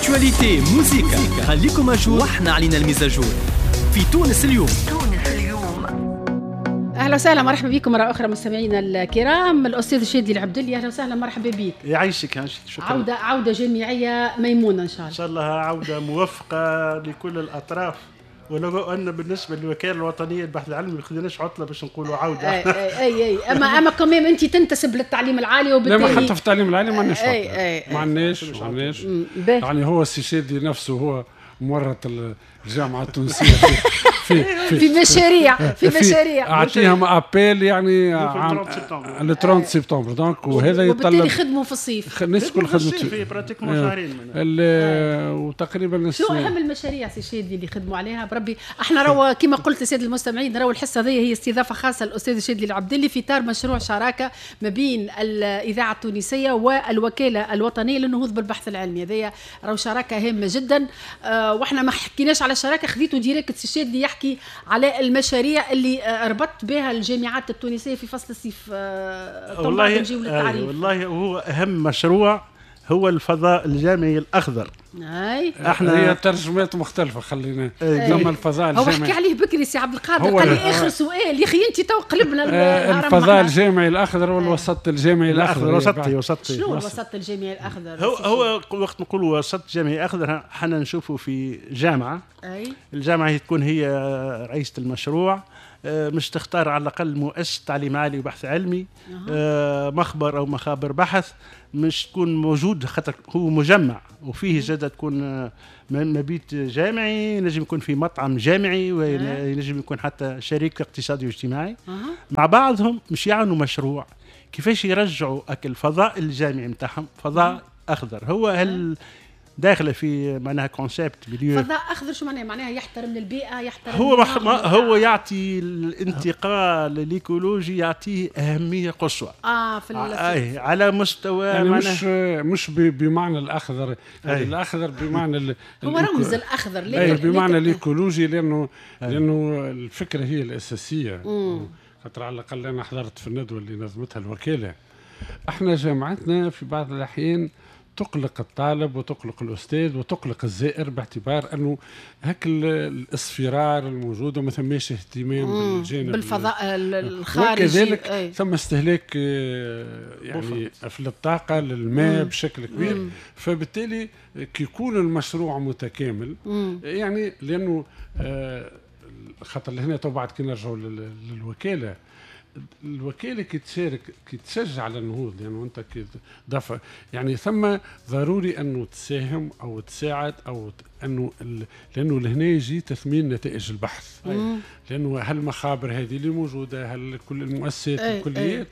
actualité، موزيكا، خليكم à jour واحنا علينا ال mise à jour في تونس اليوم. تونس اليوم. اهلا وسهلا، مرحبا بكم مرة اخرى مستمعينا الكرام. الاستاذ شادي العبدلي، اهلا وسهلا، مرحبا بك. يعيشك يعيشك، شكرا. عوده جامعية ميمونة ان شاء الله. ان شاء الله عوده موفقة لكل الاطراف، ولو ان بالنسبة للوكاله الوطنية للبحث العلمي ما خذيناش عطله باش نقولوا عوده. اي، اما quand même انت تنتسب للتعليم العالي وبالتالي لا، ما حتى في التعليم العالي ما عندناش، ما عندناش ما عندناش. يعني هو السي شادي نفسه هو مورط الجامعة التونسية في مشاريع، في مشاريع. اعطيهم appel يعني le 30 septembre، donc وهذا يتطلب وبالتالي خدموا في الصيف. الناس الكل خدمت في pratiquement شهرين. وتقريبا شنو اهم المشاريع سي شادي اللي خدموا عليها؟ بربي احنا راهو كما قلت للسادة المستمعين، راهو الحصة هذه هي استضافة خاصة للاستاذ شادي العبدلي في اطار مشروع شراكة ما بين الاذاعة التونسية والوكالة الوطنية للنهوض بالبحث العلمي. هذه راهو شراكة هامة جدا، واحنا ما حكيناش على الشراكه، خذيته direct سي شادي يحكي على المشاريع اللي ربطت بها الجامعات التونسية في فصل الصيف. والله والله هو اهم مشروع هو الفضاء الجامعي الاخضر. اي. احنا هي ترجمات مختلفه، خلينا ثم الفضاء الجامعي هو حكي عليه بكري سي عبد القادر، قال لي اخر سؤال يا اخي انت تو قلبنا. الفضاء الجامعي الاخضر والوسط الجامعي الاخضر. وسطي وسطي. شنو الوسط الجامعي الاخضر؟ هو وقت نقول وسط جامعي اخضر حنا نشوفوا في جامعه، أي. الجامعة هي تكون هي رئيسه المشروع، مش تختار على الاقل مؤسسة تعليم عالي وبحث علمي، مخبر او مخابر بحث مش تكون موجود، خاطر هو مجمع وفيه زادة تكون مبيت جامعي، نجم يكون في مطعم جامعي، وينجم يكون حتى شريك اقتصادي واجتماعي. مع بعضهم مش يعملوا مشروع كيفاش يرجعوا اكل الفضاء الجامعي نتاعهم فضاء اخضر. هو هل داخله في معناها concept milieu فضاء اخضر؟ شو معناها؟ معناها يحترم البيئه، يحترم هو هو يعطي الانتقال الايكولوجي، يعطيه اهمية قصوى في على مستوى يعني مش بمعنى الاخضر، يعني الاخضر بمعنى هو رمز الاخضر. لكن بمعنى الايكولوجي، لانه الفكرة هي الاساسيه. خاطر على الاقل انا حضرت في الندوة اللي نظمتها الوكاله، احنا جامعتنا في بعض الاحيان تقلق الطالب وتقلق الأستاذ وتقلق الزائر، باعتبار أنه هاك الاصفرار الموجود وما ثماش اهتمام بالجانب بالفضاء الخارجي، وكذلك ثم استهلاك يعني في الطاقة للماء بشكل كبير. فبالتالي كي يكون المشروع متكامل، يعني لأنه خاطر لهنا تو بعد كي نرجعوا للوكالة، الوكالة كي تشارك كي تشجع على النهوض، لانه يعني انت كي دفع يعني ثم ضروري انه تساهم او تساعد او انه لانه لهنا يجي تثمين نتائج البحث. لانه هالمخابر هذه اللي موجوده، هل كل المؤسسات، الكليات،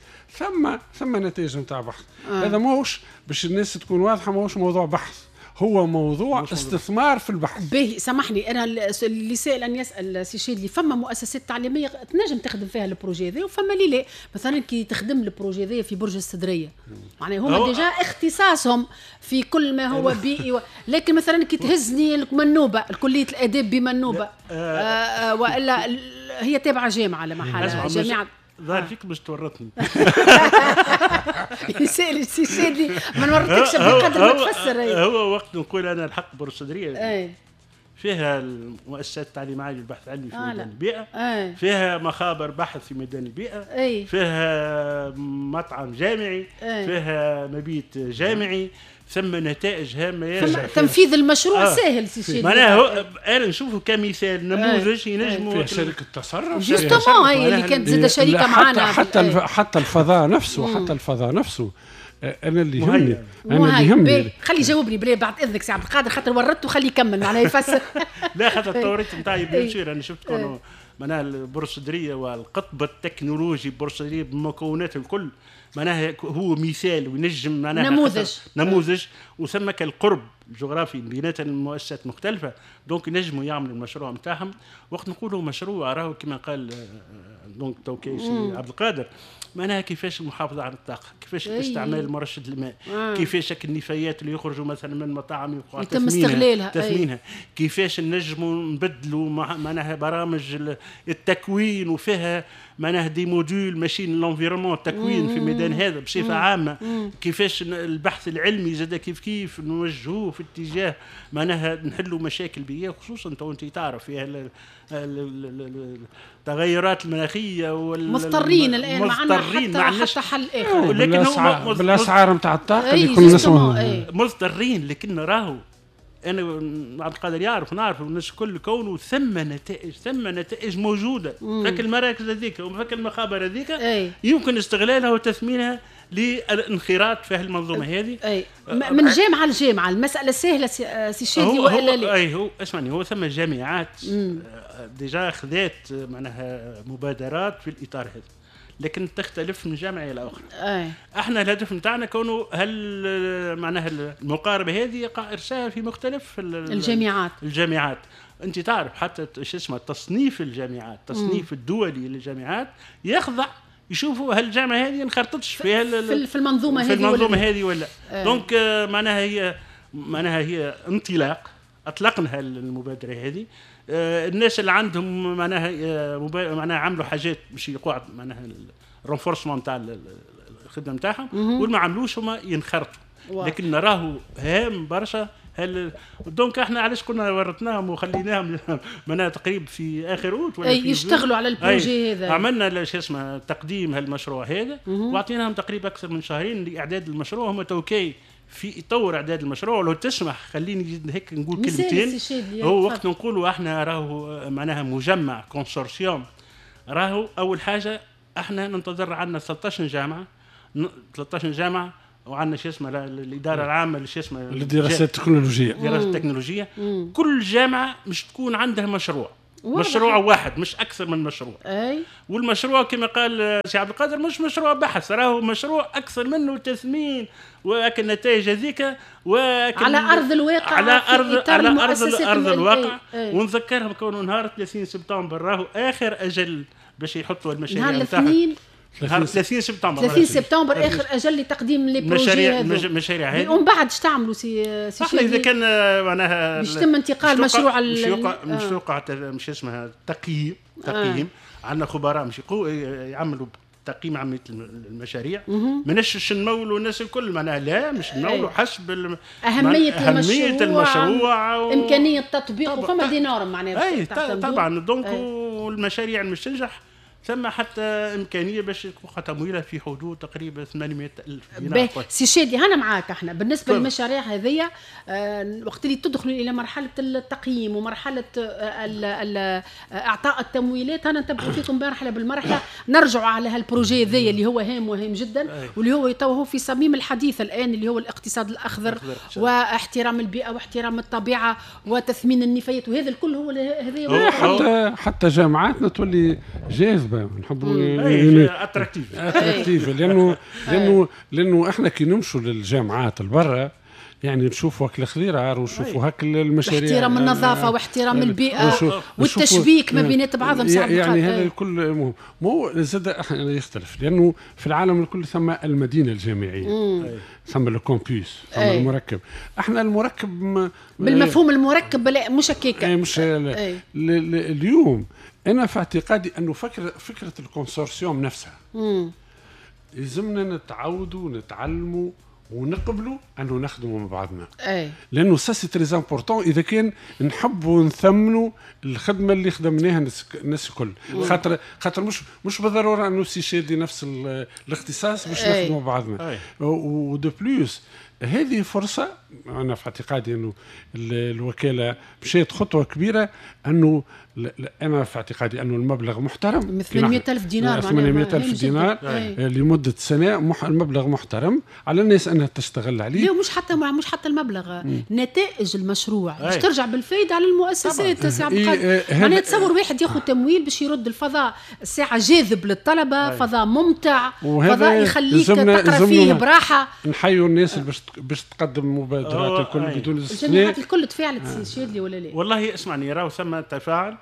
ثم نتائج نتاع بحث. هذا ماهوش باش الناس تكون واضحه، ماهوش موضوع بحث، هو موضوع استثمار في البحث. باهي، سامحني، انا اللي سائل ان يسال سي شادلي، فما مؤسسات تعليمية تنجم تخدم فيها ال projet هذا وفما اللي لا. مثلا كي تخدم ال projet هذا في برج السدريه، معناها هما déjà اختصاصهم في كل ما هو بيئي لكن مثلا كي تهزني المنوبه، كليه الاداب بمنوبه، والا هي تابعه جامعه لمحل جامعه. ظاهر فيك باش تورطني. يسال سي شادي، ما نورطكش بقدر ما تفسر. هو وقت نقول انا الحق برج السدريه فيها المؤسسات التعليم العالي والبحث العلمي في ميدان البيئة، فيها مخابر بحث في ميدان البيئة، فيها مطعم جامعي، فيها مبيت جامعي، ثم نتائج هامة ياسر. تنفيذ المشروع ساهل سي شادي. معناها انا نشوفه كمثال نموذج ينجموا فيها شركة تصرف justement هي اللي كانت زادة شريكه معنا. حتى الفضاء نفسه، حتى الفضاء نفسه انا اللي يهمني، انا اللي يهمني. خلي يجاوبني بلي بعد اذنك سي عبد القادر، خاطر ورطته، خليه يكمل معناها يفسر. لا، خاطر التوريط نتاعي bien sûr انا شفت كونه معناها البرج السدريه والقطب التكنولوجي برج السدريه بمكوناته الكل معناها هو مثال وينجم معناها نموذج، وثم القرب الجغرافي بينات المؤسسات مختلفة، donc ينجموا يعملوا المشروع نتاعهم. وقت نقولوا مشروع راهو كما قال donc توكي عبد القادر، معناها كيفاش المحافظة على الطاقة، كيفاش استعمال مرشد الماء، كيفاش النفايات اللي يخرجوا مثلا من المطاعم يتم استغلالها، تثمينها، كيفاش نجموا نبدلوا معناها برامج التكوين وفيها معناها des modules ماشيين l'environnement، التكوين في ميدان الميدان هذا بصفة عامة. كيفاش البحث العلمي زاد كيف كيف نوجهوه في اتجاه معناها نحلوا مشاكل بيئية، خصوصا تو انت تعرف فيها التغيرات المناخية. مضطرين الان، ما عندنا حتى حل اخر. لكن بالاسعار نتاع الطاقة اللي كنا نسمعوا مضطرين، لكن راهو انا عبد القادر يعرف، نعرف الناس الكل كونه ثم نتائج، ثم نتائج موجودة. فك المراكز هذيك وفك المخابر هذيك يمكن استغلالها وتثمينها للانخراط في المنظومة هذه. اي من جامعه لجامعة المسالة سهلة سي شادي والا لا؟ اي هو اسمعني، هو ثم جامعات déjà خذات معناها مبادرات في الاطار هذا، لكن تختلف من جامعه الى اخرى. احنا الهدف نتاعنا كونه هل معناها المقاربة هذه يقع ارساها في مختلف الجامعات. الجامعات انت تعرف حتى شو اسمه تصنيف الجامعات، التصنيف الدولي للجامعات يخضع يشوفوا هل الجامعة هذه انخرطتش فيها في المنظومة هذه في المنظومة هذه ولا. donc معناها هي انطلاق، اطلقنا المبادرة هذه. الناس اللي عندهم معناها عملوا حاجات باش يقعد معناها ال renforcement تاع الخدمة نتاعهم، واللي ما عملوش هما ينخرطوا. لكن نراه هام برشا. هل donc احنا علاش كنا ورطناهم وخليناهم معناها تقريب في اخر اوت ولا في يشتغلوا على ال projet هذا. عملنا شو اسمه تقديم هالمشروع هذا واعطيناهم تقريبا اكثر من شهرين لاعداد المشروع. هم توكي في طور اعداد المشروع. لو تسمح خليني هيك نقول كلمتين. هو وقت نقولوا احنا راهو معناها مجمع consortium، راهو اول حاجة احنا ننتظر عندنا 13 جامعه، 13 جامعه، وعندنا شو اسمه الادارة العامة اللي شو اسمه للدراسات التكنولوجية، الدراسات التكنولوجية. كل جامعه مش تكون عندها مشروع، مشروع واحد مش اكثر من مشروع. أي. والمشروع كما قال سي عبد القادر مش مشروع بحث، راهو مشروع اكثر منه تثمين واكل النتائج هذيك على ارض الواقع، على ارض على ارض الواقع. ونذكرهم كونه نهار 30 سبتمبر راهو اخر اجل باش يحطوا المشاريع نتاعهم. نهار 30 سبتمبر، 30 سبتمبر اخر اجل لتقديم les projets المشاريع هذه. ومن بعد اش تعملوا سي احنا اذا كان معناها باش يتم انتقال مشروع مش يوقع مش اسمها تقييم. عندنا خبراء مش يعملوا تقييم عملية المشاريع. ماناش نمولوا الناس الكل معناها، لا مش نمولوا حسب اهمية المشروع امكانية تطبيقه. فما des normes معناها. طبعا donc والمشاريع اللي مش تنجح ثم حتى امكانية باش يكون تمويلها في حدود تقريبا 800,000 دينار. سي شادي انا معاك. احنا بالنسبة للمشاريع هذيا وقت اللي تدخلوا الى مرحلة التقييم ومرحلة اعطاء التمويلات، انا نتبعوا فيكم مرحلة بالمرحلة، نرجعوا على هال projet هذايا اللي هو هام وهام جدا، واللي هو تو في صميم الحديث الان، اللي هو الاقتصاد الاخضر واحترام البيئة واحترام الطبيعة وتثمين النفايات، وهذا الكل هو هذا. حتى جامعاتنا تولي جاذبة، نحبوا attractive لانه احنا كي نمشوا للجامعات البرة يعني نشوفوا هاك الخضيرة ونشوفوا هاك المشاريع، احترام النظافة واحترام البيئة والتشبيك ما بينات بعضهم. يعني هذا الكل مو زاد يختلف، لانه في العالم الكل ثم المدينة الجامعية، ثم ال campus، ثم المركب. احنا المركب بالمفهوم المركب لا مش هكاك، مش اليوم. انا في اعتقادي انه فكرة ال consortium نفسها يلزمنا نتعودوا ونتعلموا ونقبلوا انه نخدموا مع بعضنا. لانه ça c'est très important اذا كان نحبوا نثمنوا الخدمة اللي خدمناها الناس الكل، خاطر مش بالضرورة انه سي شادي نفس الاختصاص باش نخدموا مع بعضنا. و de plus هذه فرصة، انا في اعتقادي انه الوكالة مشات خطوة كبيرة، انه انا في اعتقادي انه المبلغ محترم، 800,000 دينار، 800,000 دينار لمدة سنة، المبلغ محترم على الناس انها تشتغل عليه. لا مش حتى المبلغ، نتائج المشروع باش ترجع بالفايده على المؤسسات. سي عبد القادر معناها تصور واحد ياخذ تمويل باش يرد الفضاء الساعة جاذب للطلبة، فضاء ممتع، فضاء يخليك تقرا فيه براحة. نحيوا الناس باش تقدم مبادرات الكل بدون استثناء. الجامعات الكل تفاعلت سي شادلي ولا لا؟ والله اسمعني، راهو ثم تفاعل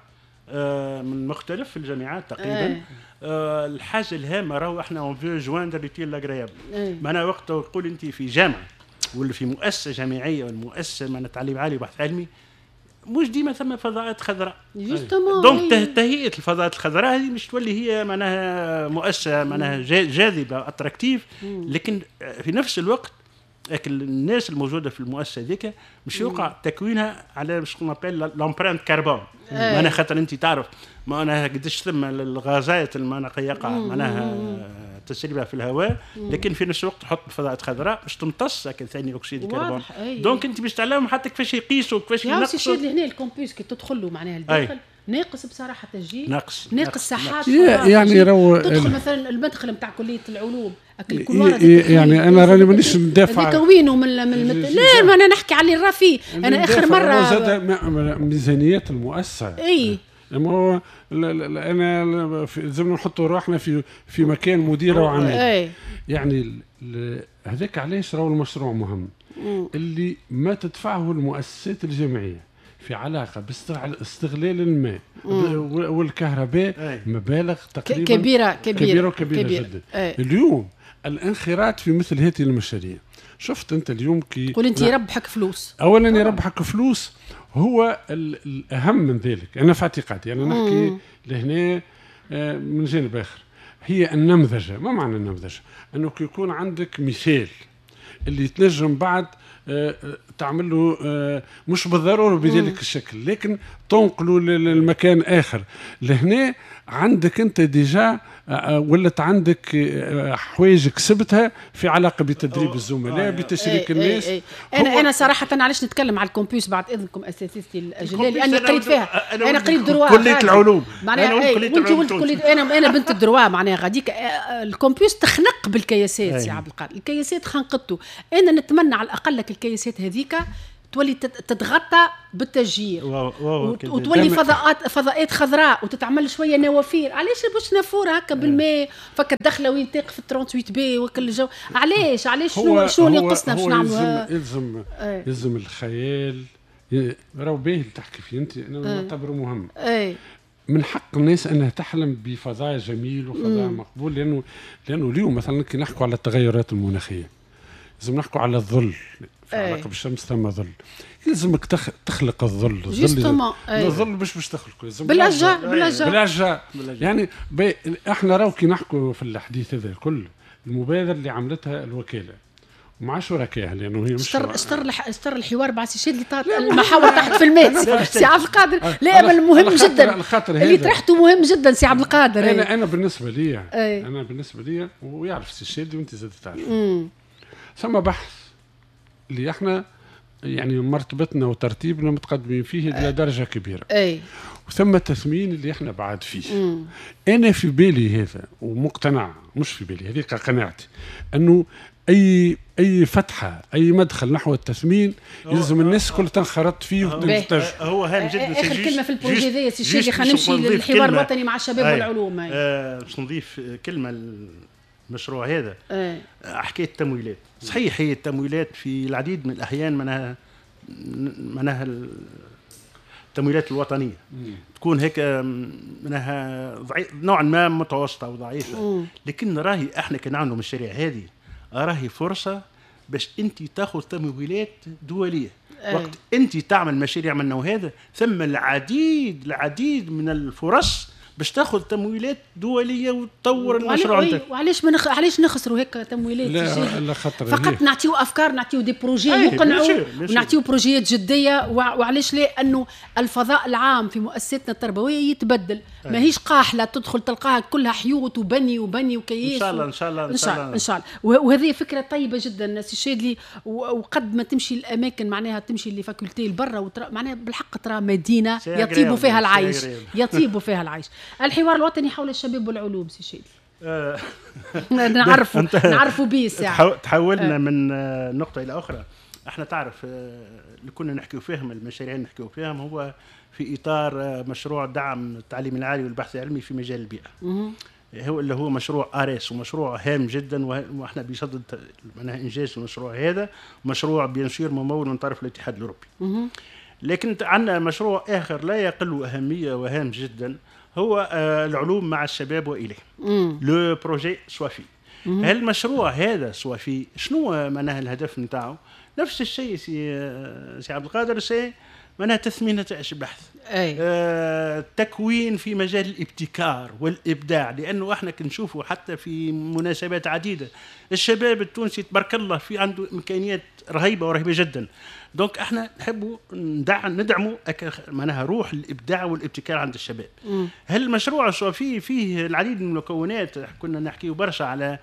من مختلف الجامعات تقريبا. الحاجة الهامة راهو احنا on veut joindre l'utile à l'agréable. معناها وقت تقول انت في جامعه ولا في مؤسسة جامعية ولا مؤسسة معناها تعليم عالي وبحث علمي، مش ديما ثم فضاءات خضراء. donc تهيئة الفضاءات الخضراء هذه مش تولي هي معناها مؤسسة معناها جاذبة attractive، لكن في نفس الوقت الناس الموجودة في المؤسسة هذيك مش يوقع تكوينها على ce qu'on appelle l'empreinte carbone. معناها خاطر انت تعرف معناها قداش ثم الغازات معناها يقع معناها تسريبها في الهواء، لكن في نفس الوقت تحط فضاءات خضراء باش تمتص ثاني اكسيد الكربون. donc انت باش تعلمهم حتى كيفاش يقيسوا كيفاش ينقصوا. الشيء اللي هنا ال campus كي تدخل له معناها الداخل ناقص بصراحة تسجيل، ناقص ساحات، يعني تدخل مثلا المدخل نتاع كليه العلوم يعني انا راني مانيش ندافع هذيك وينه من لا ما انا نحكي على الرفي. انا اخر مرة زاد ميزانيات المؤسسة اي اما هو انا لازم نحطوا روحنا في مكان مديره وعميل. يعني هذاك علاش راهو المشروع مهم اللي ما تدفعه المؤسسات الجامعية في علاقة باستغلال الماء والكهرباء مبالغ تقريبا كبيرة كبيرة كبيرة, كبيرة جدا. اليوم الانخراط في مثل هذه المشاريع، شفت انت اليوم كي قول انت يربحك فلوس، اولا يربحك فلوس هو الاهم من ذلك. انا في اعتقادي انا نحكي لهنا من جانب اخر، هي النمذجه. ما معنى النمذجه؟ انه كي يكون عندك مثال اللي تنجم بعد تعمل له مش بالضرورة بذلك الشكل، لكن تنقله للمكان اخر. لهنا عندك انت déjà ولت عندك حوايج كسبتها في علاقة بتدريب الزملاء، بتشريك الناس. انا صراحة علاش نتكلم على ال campus بعد اذنكم اساتذتي الاجلاء، لاني قريت فيها، انا قريت droit كليه العلوم معناها، وانت ولد كليه، انا بنت ال droit معناها غاديك ال campus تخنق بالكياسات سي عبد القادر، الكياسات خنقته. انا نتمنى على الاقل لك الكياسات هذيك تولي تتغطى بالتشجير وتولي فضاءات خضراء وتتعمل شوية نوافير. علاش باش نافورة هكا بالماء فك الدخلة وين تقف 38 بي وكل الجو؟ علاش شنو اللي ينقصنا باش نعملوا؟ يلزم الخيال. راهو باهي اللي تحكي فيه انت، انا نعتبره مهم. من حق الناس انها تحلم بفضاء جميل وفضاء مقبول، لانه اليوم مثلا كي نحكوا على التغيرات المناخية لازم نحكوا على الظل في علاقة بالشمس، ثم ظل لازمك تخلق الظل. الظل باش تخلقه بالاشجار. يعني احنا راهو كي نحكوا في الحديث هذا الكل، المبادرة اللي عملتها الوكالة مع شركائها، لانه هي مش اشتر الحوار مع سي شادلي المحاور تحت في الماء سي عبد القادر. لا بل مهم جدا اللي طرحته، مهم جدا سي عبد القادر. انا بالنسبة لي، انا بالنسبة لي ويعرف سي شادلي وانت زاد تعرف، ثم بحث اللي احنا يعني مرتبتنا وترتيبنا متقدمين فيه الى درجه كبيرة. وثم التثمين اللي احنا بعد فيه. انا في بالي هذا ومقتنع، مش في بالي هذيك قناعتي، انه اي فتحه، اي مدخل نحو التثمين يلزم الناس كل تنخرط فيه وتنتج. هو هام جدا. اخر كلمة في ال projet هذايا سي الشادلي، خلينا نمشي للحوار الوطني مع الشباب والعلوم. باش نضيف كلمة المشروع هذا. حكاية التمويلات، صحيح هي التمويلات في العديد من الاحيان معناها التمويلات الوطنية تكون هيك معناها نوعا ما متوسطه وضعيفه، لكن راهي احنا كي نعملوا المشاريع هذه راهي فرصة باش انت تاخذ تمويلات دولية. وقت انت تعمل مشاريع من النوع هذا ثم العديد من الفرص باش تاخذ تمويلات دولية وتطور المشروع نتاعك. وعلاش علاش نخسروا هيك تمويلات؟ لا خطر، فقط نعطيو افكار، نعطيو des projets يقنعوا، ونعطيو بروجيات جدية. وعلاش لا؟ انه الفضاء العام في مؤسساتنا التربوية يتبدل، ماهيش قاحله تدخل تلقاها كلها حيوط وبني وبني وكياس. ان شاء الله ان شاء الله ان شاء الله ان شاء الله. وهذه فكرة طيبة جدا سي شادلي. وقد ما تمشي الاماكن معناها تمشي les facultés لبرا معناها بالحق ترى مدينة يطيب فيها العيش، يطيب فيها العيش. الحوار الوطني حول الشباب والعلوم سي شادلي نعرفوا به الساعة. تحولنا من نقطة الى اخرى. احنا تعرف اللي كنا نحكيو فيهم، المشاريع اللي نحكيو فيهم هو في اطار مشروع دعم التعليم العالي والبحث العلمي في مجال البيئة. هو اللي هو مشروع اريس، ومشروع هام جدا، واحنا بصدد معناها انجاز المشروع هذا، مشروع bien sûr ممول من طرف الاتحاد الاوروبي. لكن عندنا مشروع اخر لا يقل اهمية وهام جدا، هو العلوم مع الشباب واليه، le projet سوافي. هالمشروع هذا سوافي شنو معناها الهدف نتاعو؟ نفس الشيء سي عبد القادر، c'est معناها تثمين نتائج البحث، تكوين في مجال الابتكار والابداع، لانه احنا كنشوفوا حتى في مناسبات عديدة الشباب التونسي تبارك الله في عنده امكانيات رهيبة ورهيبه جدا. donc احنا نحبوا ندعموا معناها روح الابداع والابتكار عند الشباب. هل المشروع سوافي فيه العديد من المكونات؟ كنا نحكيو برشا على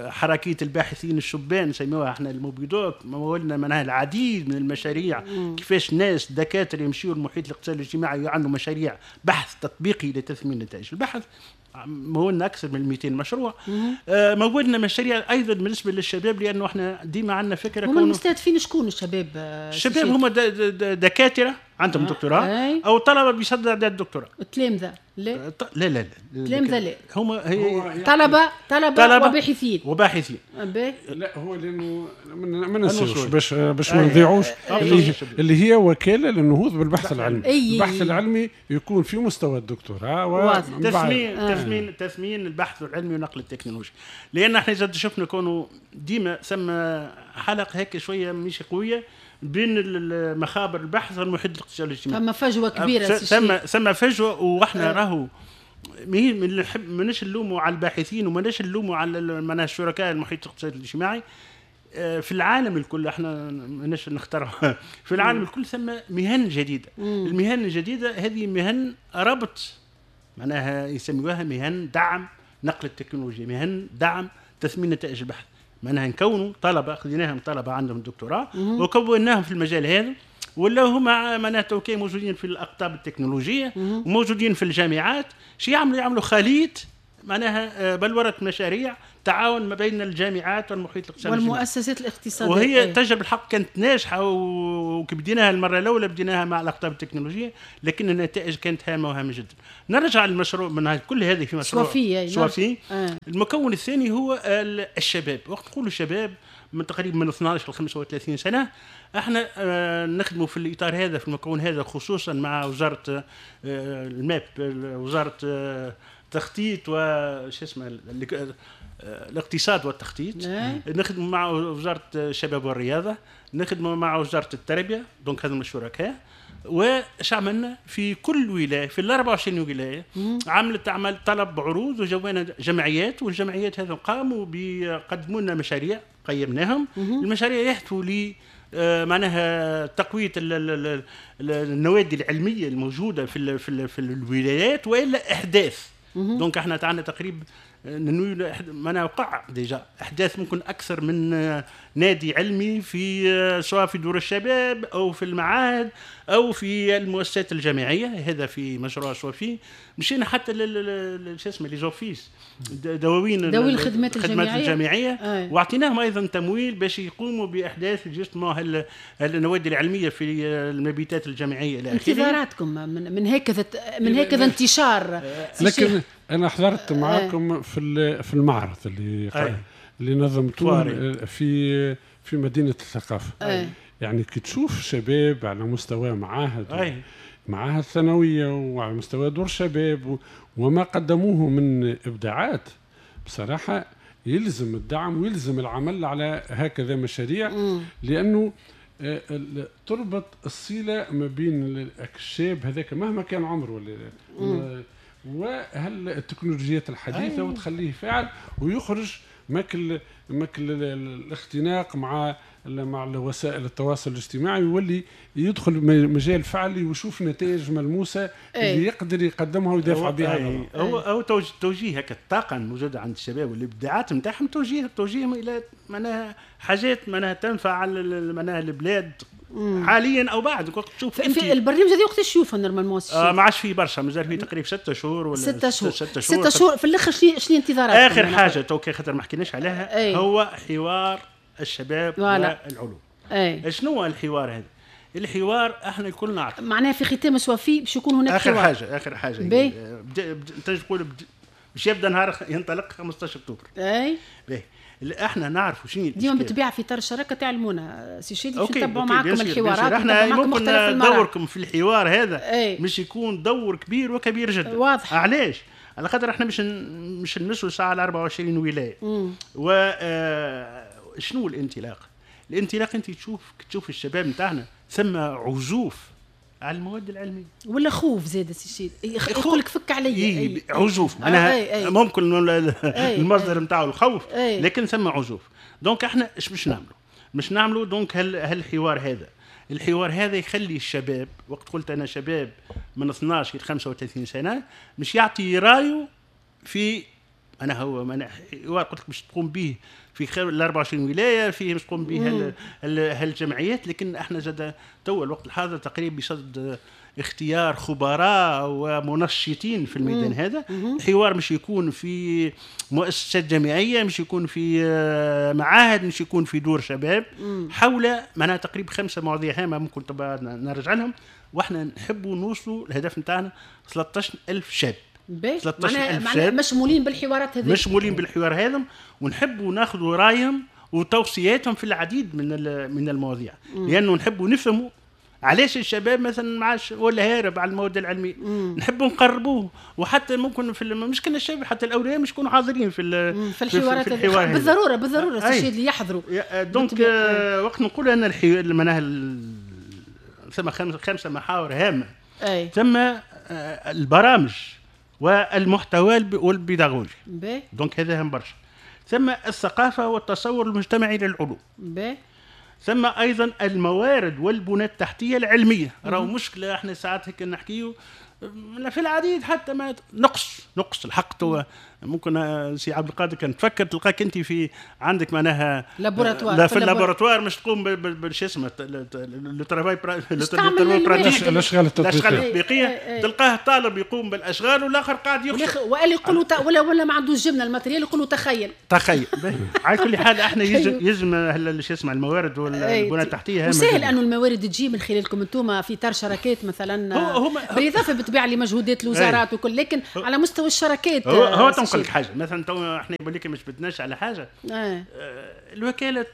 حركية الباحثين الشبان نسميوها احنا ال Mobidoc، مولنا معناها العديد من المشاريع. كيفاش ناس دكاترة يمشيوا المحيط الاقتصادي الاجتماعي ويعملوا مشاريع بحث تطبيقي لتثمين نتائج البحث. مولنا اكثر من 200 مشروع. مولنا مشاريع ايضا بالنسبة للشباب، لانه احنا ديما عندنا فكرة. هم المستهدفين شكون الشباب؟ الشباب هم دكاترة عندهم دكتوراه او طلبه بيصدر اعداد الدكتوراه. التلامذه لا لا لا التلامذه لا، هما هي طلبه وباحثين وباحثين. لا هو لانه ما ننساوش باش ما نضيعوش اللي هي وكالة للنهوض بالبحث العلمي. البحث العلمي يكون في مستوى الدكتوراه تثمين تثمين البحث العلمي ونقل التكنولوجيا، لان احنا اذا شفنا كونه ديما ثم حلقة هيك شوية مش قوية بين مخابر البحث والمحيط الاقتصادي الاجتماعي، ثم فجوة كبيرة، ثم فجوة. واحنا راهو ماناش نلوموا على الباحثين وماناش نلوموا على الشركاء المحيط الاقتصادي الاجتماعي. في العالم الكل احنا ماناش نخترع، في العالم الكل ثم مهن جديدة. المهن الجديدة هذه مهن ربط، معناها يسميوها مهن دعم نقل التكنولوجيا، مهن دعم تثمين نتائج البحث. معناها نكونوا طلبه، خذيناهم طلبه عندهم دكتوراه وكوناهم في المجال هذا، ولا هما معناها توكي موجودين في الاقطاب التكنولوجية وموجودين في الجامعات. شي يعملوا خليط معناها بلورة مشاريع تعاون ما بين الجامعات والمحيط الاقتصادي والمؤسسات الاقتصادية، وهي تجربه الحق كانت ناجحة، وبديناها المرة الاولى بديناها مع الاقطاب التكنولوجية، لكن النتائج كانت هامة وهامه جدا. نرجع للمشروع من كل هذه في مشروع سوافي. المكون الثاني هو الشباب. وقت نقولوا الشباب من تقريبا من 12 ل 35 سنة، احنا نخدموا في الاطار هذا في المكون هذا خصوصا مع وزارة الماب، وزارة التخطيط وش اسمه الاقتصاد والتخطيط، نخدموا مع وزارة الشباب والرياضة، نخدموا مع وزارة التربية، donc هذو الشركاء. وش عملنا في كل ولاية في ال 24 ولاية عملت عمل طلب عروض، وجوانا جمعيات، والجمعيات هذو قاموا بيقدموا لنا مشاريع قيمناهم. المشاريع يهدفوا ل معناها تقوية النوادي العلمية الموجودة في في في الولايات والا احداث. donc احنا عندنا تقريبا معناها وقع déjà احداث ممكن اكثر من نادي علمي في سواء في دور الشباب او في المعاهد او في المؤسسات الجامعية. هذا في مشروع سوافي. مشينا حتى شو اسمه les offices، دواوين الخدمات الجامعية، واعطيناهم ايضا تمويل باش يقوموا باحداث justement النوادي العلمية في المبيتات الجامعية الى اخره. انتظاراتكم من هكذا من هكذا انتشار؟ لكن انا حضرت معاكم في المعرض اللي نظمتوه في مدينة الثقافة. يعني كي تشوف شباب على مستوى معاهد معاهد ثانوية وعلى مستوى دور شباب وما قدموه من ابداعات، بصراحة يلزم الدعم ويلزم العمل على هكذا مشاريع، لانه تربط الصلة ما بين الشاب هذاك مهما كان عمره وهل التكنولوجيات الحديثة وتخليه فاعل ويخرج ماكل الاختناق مع وسائل التواصل الاجتماعي، ويولي يدخل مجال فعلي ويشوف نتائج ملموسة اللي يقدر يقدمها ويدافع بها. هو توجيه هكا الطاقة الموجودة عند الشباب والابداعات نتاعهم، توجيههم الى معناها حاجات معناها تنفع معناها البلاد حاليا او بعد. وقت تشوف انت في البرنامج هذا وقت تشوفه normalement ما عادش فيه برشا، مازال فيه تقريبا 6 شهور ولا 6 شهور. 6 شهور في الاخر. شنو انتظاراتكم؟ اخر حاجة توكي خاطر ما حكيناش عليها هو حوار الشباب والعلوم. شنو هو الحوار هذا؟ الحوار احنا الكل نعرف معناها في ختام سوافي باش يكون هناك اخر حوار. اخر حاجة تنجم تقول باش يبدا نهار ينطلق 15 اكتوبر. اي باهي احنا نعرفوا شنو ديما بالطبيعة في اطار الشراكة تعلمونا سي شادي باش نتبعوا معاكم الحوارات. احنا ممكن دوركم في الحوار هذا مش يكون دور كبير وكبير جدا. واضح علاش؟ على خاطر احنا مش نمسوا ساعة على 24 ولاية. و شنو الانطلاق؟ الانطلاق انت تشوف الشباب نتاعنا ثم عزوف على المواد العلمية ولا خوف زاد سي يقول لك فك علي. عزوف معناها ممكن المصدر نتاعو الخوف، لكن ثم عزوف. donc احنا ايش باش نعملوا؟ باش نعملوا donc هالحوار هذا، الحوار هذا يخلي الشباب، وقت قلت انا شباب من 12 الى 35 سنة، مش يعطي رايه في انا هو انا حوار قلت لك باش تقوم به في ال 24 ولاية، فيه باش تقوم به هالجمعيات. لكن احنا زاد تو الوقت الحاضر تقريبا بصدد اختيار خبراء ومنشطين في الميدان هذا. الحوار مش يكون في مؤسسات جامعية، مش يكون في معاهد، مش يكون في دور شباب، حول معناها تقريبا 5 مواضيع هامة ممكن نرجع لهم. واحنا نحبوا نوصلوا الهدف نتاعنا 13,000 شاب، 13,000 شاب مشمولين بالحوارات هذه، مشمولين بالحوار هذا، ونحبوا ناخذوا رايهم وتوصياتهم في العديد من المواضيع، لانه نحبوا نفهموا علاش الشباب مثلا ما عادش ولا هارب على المواد العلمية، نحبوا نقربوه. وحتى ممكن في مش كان الشباب، حتى الاولياء مش يكونوا حاضرين في الحوارات في الحوار. بالضرورة الشيء اللي يحضروا. donc وقت نقول ان معناها ثم 5 محاور هامة. ثم البرامج والمحتوى والبيداغوجي، donc هذا هام برشا. ثم الثقافة والتصور المجتمعي للعلوم. ثم ايضا الموارد والبنى التحتية العلمية. راهو مشكلة احنا ساعات هيك نحكيو في العديد حتى ما نقص الحق. تو ممكن سي عبد القادر كان تفكر تلقاك انت في عندك معناها laboratoire، لا في ال laboratoire مش تقوم بالش اسمه le travail pratique، الاشغال التطبيقية، تلقاه طالب يقوم بالاشغال والاخر قاعد يخشى، وقال يقولوا ولا ما عندوش جبنه ال matériel يقولوا تخيل. على كل حال احنا يلزم شو اسمه الموارد والبنى التحتية. وسهل انه الموارد تجي من خلالكم انتم في اطار شراكات مثلا، بالاضافة بالطبيعة لمجهودات الوزارات وكل، لكن على مستوى الشراكات هو تنقل لك حاجة مثلا. تو احنا يقول لك مش بدناش على حاجة. الوكالة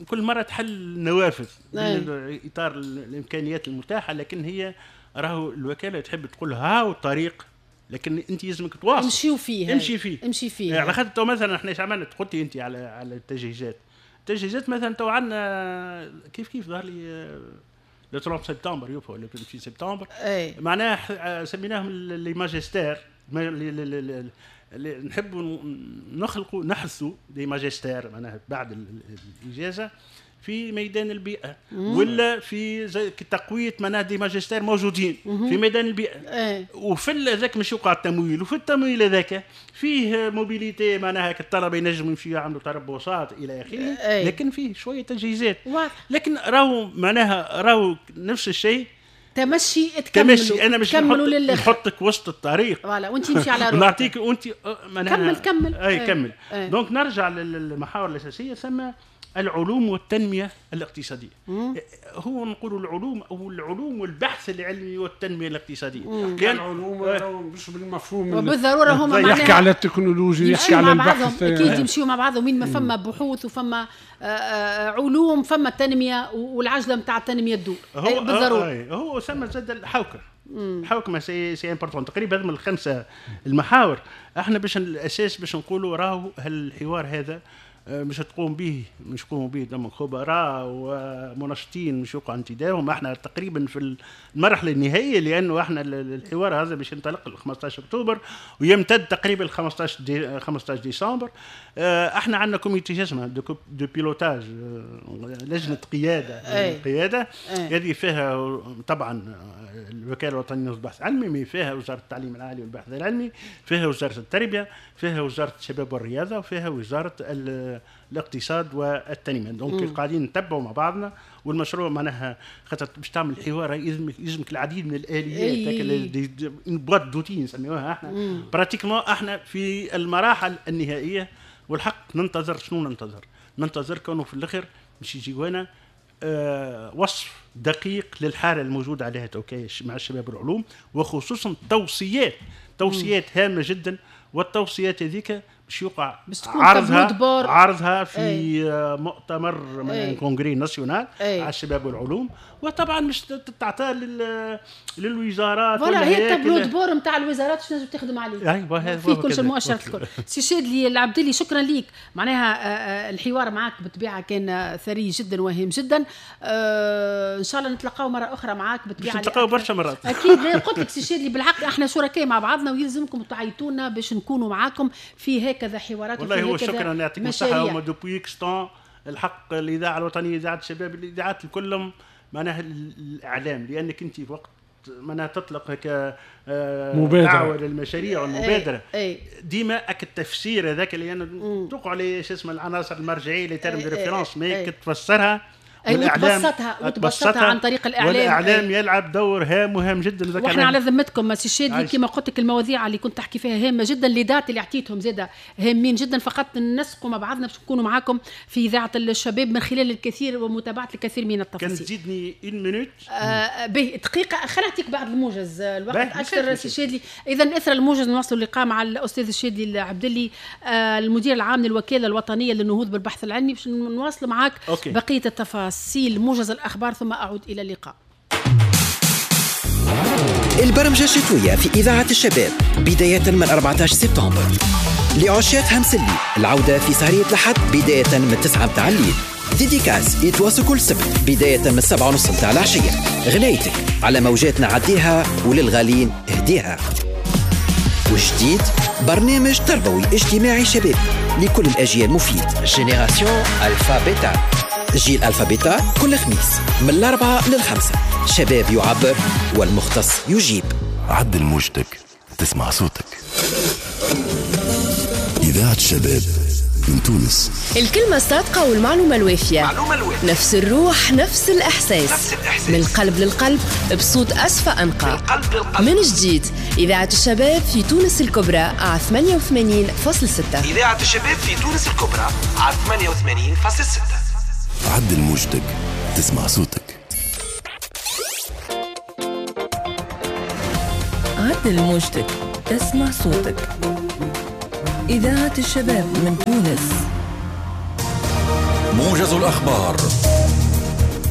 كل مرة تحل نوافذ من اطار الامكانيات المتاحة، لكن هي راهو الوكالة تحب تقول هاو الطريق، لكن انت يلزمك تواصل امشيو فيه، امشي فيه. على خاطر تو مثلا احنا ايش عملنا؟ قلت انت على التجهيزات، مثلا تو عندنا كيف ظهر لي le 30 سبتمبر يوفا ولا في سبتمبر، معناها سميناهم les magistères، نحبوا نخلقوا نحثوا des magistères معناها بعد الاجازة في ميدان البيئة، ولا في زي تقوية معناها des magistères موجودين في ميدان البيئة. وفي ذاك مش يوقع التمويل، وفي التمويل هذاك فيه mobilité معناها الطلبة ينجموا يمشيوا يعملوا تربصات الى اخره، لكن فيه شوية تجهيزات. لكن راهو معناها راهو نفس الشيء تمشي تكملوا. انا مش نحطك وسط الطريق voilà وانت تمشي على روحك، نعطيك وانت معناها كمل. اي كمل. donc نرجع للمحاور الاساسية. ثم العلوم والتنمية الاقتصادية. هو نقول العلوم او العلوم والبحث العلمي والتنمية الاقتصادية. لان العلوم مش بالمفهوم وبالضروره هما يحكي على التكنولوجيا، يحكي على البحث، اكيد يمشيوا مع بعضهم. وين ما فما بحوث وفما علوم فما تنمية، والعجلة نتاع التنمية تدور بالضرورة. هو ثم زاد الحوكمة. الحوكمة c'est important. تقريبا هذم الخمسة المحاور احنا باش الاساس باش نقولوا راهو هالحوار هذا مش تقوم به، مش يقوموا به دم خبراء ومنشطين مش يوقع انتدابهم. احنا تقريبا في المرحلة النهائية، لانه احنا الحوار هذا باش ينطلق 15 اكتوبر ويمتد تقريبا 15 ديسمبر. احنا عندنا comité اسمها de pilotage، لجنة قيادة. قيادة هذه فيها طبعا الوكالة الوطنية للبحث العلمي، فيها وزارة التعليم العالي والبحث العلمي، فيها وزارة التربية، فيها وزارة الشباب والرياضة، وفيها وزارة الاقتصاد والتنمية. donc قاعدين نتبعوا مع بعضنا، والمشروع معناها خاطر باش تعمل حوار يلزمك العديد من الاليات، boîte d'outils نسميوها احنا. pratiquement احنا في المراحل النهائية، والحق ننتظر شنو ننتظر؟ ننتظر كونه في الاخر باش يجيونا وصف دقيق للحالة الموجودة عليها توكي مع الشباب العلوم، وخصوصا توصيات هامة جدا. والتوصيات هذيك باش يوقع عرضها في مؤتمر من congrès national على الشباب والعلوم، وطبعا مش تتعطى للوزارات. voilà هي ال tableau de bord نتاع الوزارات باش تنجم تخدم عليه. ايوه في كل شيء المؤشرات الكل. سي شادلي العبدلي شكرا ليك، معناها الحوار معك بالطبيعة كان ثري جدا وهام جدا. ان شاء الله نتلقاو مرة اخرى معاك بالطبيعة، نتلقاو برشا مرات اكيد. قلت لك سي شادلي بالحق احنا شركاء مع بعضنا، ويلزمكم تعيطونا باش نكونوا معاكم في هكذا حوارات. والله هو شكرا، يعطيكم الصحة. هما depuis X temps الحق الاذاعة الوطنية، اذاعة الشباب، الاذاعات كلهم معناها الاعلام، لانك انت في وقت معناها تطلق هكا دعوه للمشاريع والمبادرة ديما اك التفسير هذاك اللي انا توقع عليه شو اسمه العناصر المرجعية les termes de référence، mais تفسرها وتبسطها عن طريق الاعلام. والاعلام يلعب دور هام وهام جدا. واحنا على ذمتكم سي الشادلي كما قلت لك المواضيع اللي كنت تحكي فيها هامة جدا، les dates اللي عطيتهم زاده هامين جدا، فقط ننسقوا مع بعضنا باش نكونوا معاكم في اذاعة الشباب من خلال الكثير ومتابعة الكثير من التفاصيل. كان تزيدني une minute به دقيقة، خلينا نعطيك بعض الموجز، الوقت اكثر سي الشادلي. اذا اثر الموجز نواصل اللقاء مع الاستاذ الشادلي العبدلي المدير العام للوكاله الوطنية للنهوض بالبحث العلمي باش نواصل معاك بقية التفاصيل. موجز الأخبار ثم أعود إلى اللقاء. البرمجة الشتوية في إذاعة الشباب بداية من 14 سبتمبر. لعشاق همسلي العودة في سهرية الأحد بداية من 9 متاع الليل. dédicace يتواصل كل سبت بداية من 7:30 متاع العشية. غنايتك على موجاتنا عديها وللغالين اهديها. وجديد برنامج تربوي اجتماعي شباب لكل الأجيال مفيد، génération Alpha Bêta، جيل Alpha Bêta كل خميس من 4 ل5. شباب يعبر والمختص يجيب. عدل موجتك تسمع صوتك. إذاعة الشباب من تونس. الكلمة الصادقة والمعلومة الوافية، نفس الروح نفس الإحساس، من القلب للقلب بصوت أصفى أنقى. من جديد إذاعة الشباب في تونس الكبرى على 88.6. إذاعة الشباب في تونس الكبرى على 88.6. عدل موجتك تسمع صوتك. عدل موجتك تسمع صوتك. إذاعة الشباب من تونس. موجز الأخبار.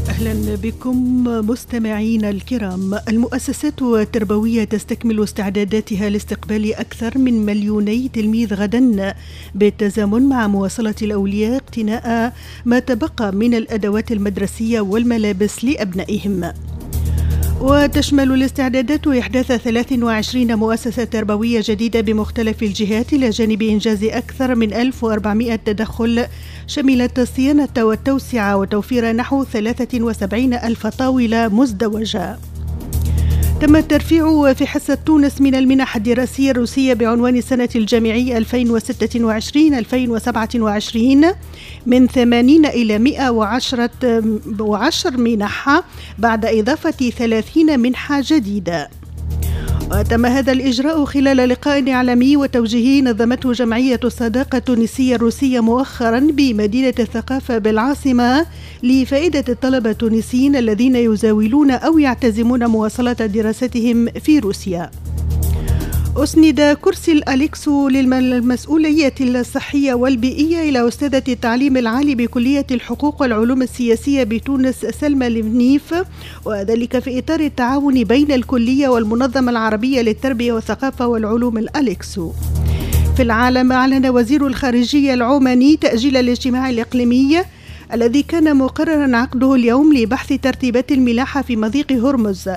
أهلا بكم مستمعينا الكرام. المؤسسات التربوية تستكمل استعداداتها لاستقبال أكثر من 2 مليون تلميذ غدا، بالتزامن مع مواصلة الأولياء اقتناء ما تبقى من الأدوات المدرسية والملابس لأبنائهم. وتشمل الاستعدادات إحداث 23 مؤسسة تربوية جديدة بمختلف الجهات، إلى جانب إنجاز أكثر من 1400 تدخل شملت الصيانة والتوسعة وتوفير نحو 73 ألف طاولة مزدوجة. تم الترفيع في حصة تونس من المنح الدراسية الروسية بعنوان السنة الجامعية 2026-2027 من 80 إلى 110 منح بعد إضافة 30 منحة جديدة. وتم هذا الإجراء خلال لقاء إعلامي وتوجيهي نظمته جمعية الصداقة التونسية الروسية مؤخرا بمدينة الثقافة بالعاصمة لفائدة الطلبة التونسيين الذين يزاولون أو يعتزمون مواصلة دراستهم في روسيا. أسند كرسي الأليكسو للمسؤولية الصحية والبيئية إلى أستاذة التعليم العالي بكلية الحقوق والعلوم السياسية بتونس سلمى المنيف، وذلك في إطار التعاون بين الكلية والمنظمة العربية للتربية والثقافة والعلوم الأليكسو. في العالم، أعلن وزير الخارجية العماني تأجيل الاجتماع الإقليمي الذي كان مقررا عقده اليوم لبحث ترتيبات الملاحة في مضيق هرمز،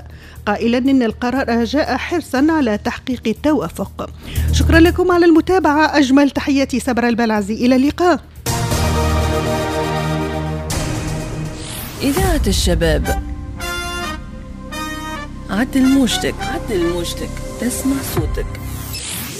قائلا إن القرار جاء حرصا على تحقيق التوافق. شكرا لكم على المتابعة، أجمل تحياتي صبر البلعزي، إلى اللقاء. إذاعة الشباب، عدل موجتك، عدل موجتك، تسمع صوتك.